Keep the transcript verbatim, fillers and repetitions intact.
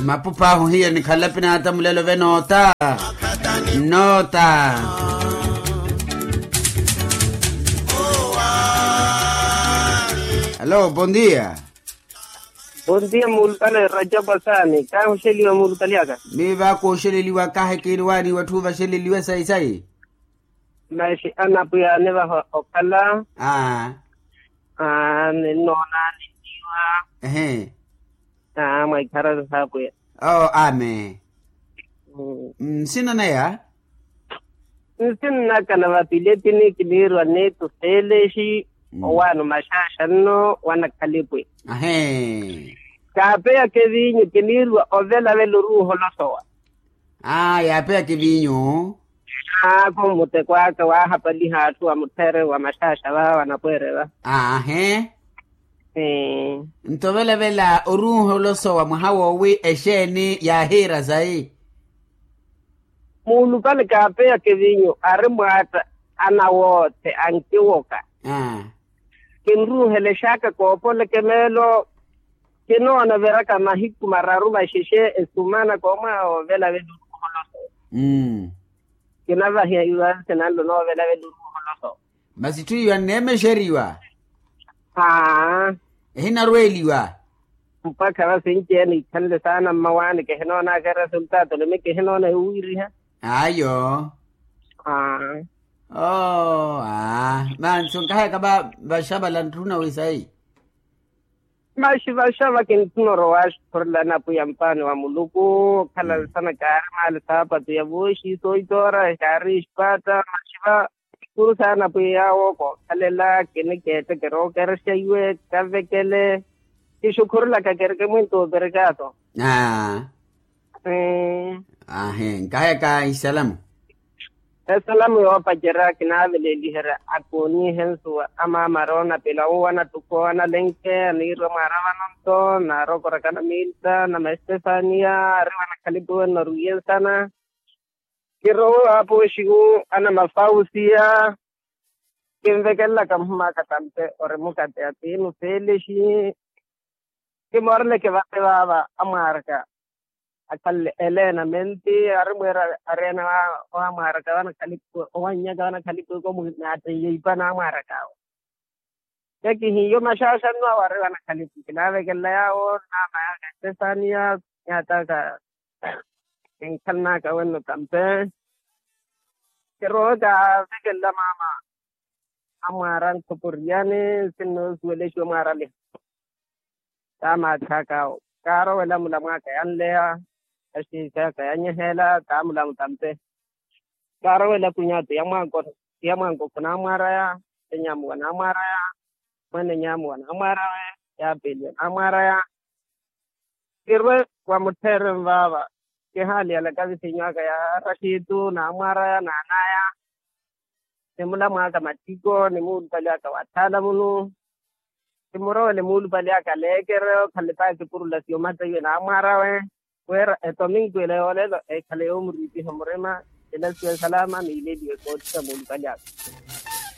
Mapupa ahu hiyo nikhala pinata mulelo ve noota. Noota. Alo, bondia. Bondia mulupale rajabu asaani kahuxeliwa mulupale aka. Miiva kuxeleliwa kahe kiiriwaani watthu vaxeleliwe sayi-sayi. Maxi anapwiya anivaha okhala. Aa. Aa ninnoona ninniiwa. Ehe. Aa mwa ikharari saapwiya. Oo amen. Nsinnaneya. Nsinnaka na vapiletini kiniirwa neetu seelexi. Owaano maxaaxa nno wanakhalipu. Ahee. Kaapeyaka eviinyu kiniirwa ovelavela oruuha olosowa. Aa yaapeyaka eviinyu. Aa khumuteko aka waahapaliha atthu wa muttheere wa maxaaxa va wanapweere va. Aa ahee. Nto ovelavela oruuha olosowa mwaha woowi exeeni yaahiira sayi. Muulupale kaapeyaka eviinyu ari mwaatta anawoothe ankiwoka. Kinruuhelexaka koopoleke meelo. Kinoona viraka mahiku mararu maxexe esumana koomwaha ovelavela oruuha olosowa. Kinavahiwa sinanlo noovelavela oruuha olosowa. Masi itthu iyo anneemexeriwa. Aa. Ehinarweeliwa. Mpakha va sinci-ene ikhanle saana mmawaani kihinoonaka eresultato nimi kihinoona ewuwiriha. Ayo. Aa. Oo aa mansi onkahayaka va vaxavala ntthuna wisayi. Maxi vaxava kintthuna orowa axukhurelani apwiya mpaani wa muluku. Okhala nsana kaari maali saapatu ya vooxi sooitoora kaari expaata maxi va. Kuru saana apwiya yaawo kookhalela kinikeettekera ookerexa iwe kavekele. Kixukhurelaka kereke mwinto operekato. Aa. Ahi nkahayaka isalamu. Esalamu yoopacerya kinaaveleeliherya akooniihe nsuwa amaamara oonapila uwo anattukhu owo analenke aniirwa mwaara vano nto naarokoraka anamiilita na maestefania ari wanakhalipu wenno aruwiye nsana. Kirowe waapooxiwu anamafausiya. Kinvekelelaka muhim'aka tampe ori mukatte atiinu feelexi. Kimooreleke vate vaava amwaaraka akhanle eleenamenti ari mweera areena wa amwaaraka vanakhalipu owannyaka vanakhalipu ikomu naatteiye ipa na amwaaraka awo. Kekihiyo maxaaxanno awo ari vanakhalipu kinaavekelela yaawo naama yaka estefania. Yaataka kinkhalnaka wenno tampe. Kirowe kaavekelela maama amwaara nkhoporiyani sinnoosuwelexiwa mwaaraliha. Taamaakhaka awo kaarowela mulamwaka yanleya. Axiixaka yanyeheela taamulamu tampe. Kaarowela kunyatu ya mwanko ya mwanko khunamwaraya. Enyamuwa namwaraya. Mwenenyamuwa namwarawe. Yaapeliwa namwaraya. Kirwe wa muttheere nvaava. Kihaaliyalaka visinyu aka ya raxitu namwaraya naanaya. Ni mulamwaka matthiko ni muulupale aka wa thaala munu. Kimurowele muulupale aka leekere okhalipaka kipurula siyo matteiwe namwarawe. Wira etominku ila yoolelo ekhale yoomuriipiha murima. Ela siyo esalaama niileliwe koottisa muulupale aka.